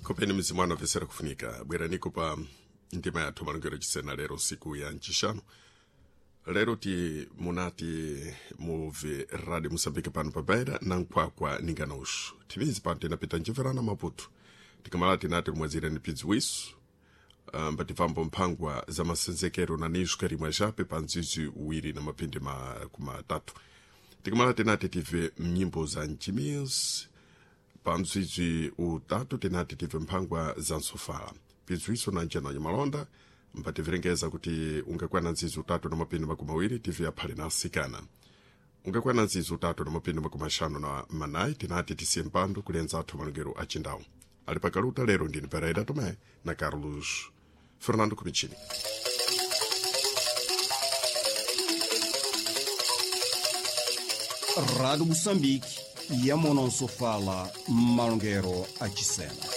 Kopeni mizimu anopesera kufunika bweraniko pa ndima yathu malongero chisena lero siku ya ncixanu. Lero ti munati muve radio Moçambique pano pa Beira na nkhwakwa ninganoxo timizi pano tinapita ncimverana Maputo, tikamala tinati limwazire ni pidzi wisu mbatifambo mphangwa za masenzekero na nisco rimwe jape pa nzizi uwiri na mapindi kumatatu. Tikamala tinati tive mnyimbo za ncimizi pa mdzidzi utatu, tinati tive mphangwa za nsofala pidziwiso na ncena ya malonda, mpativirengeza kuti ungakwana nzizi utatu na mapindi 20 tive aphale na asikana. Ungakwana nzizi utatu na mapindi 54 tinati tisiye mpando kulenza athu malongero achindawu ali pakaluta. Lero ndini Pereira Tomé na Carlos Fernando Cumichini. Rádio Moçambique, Yamononsofala, Malongero Achisena.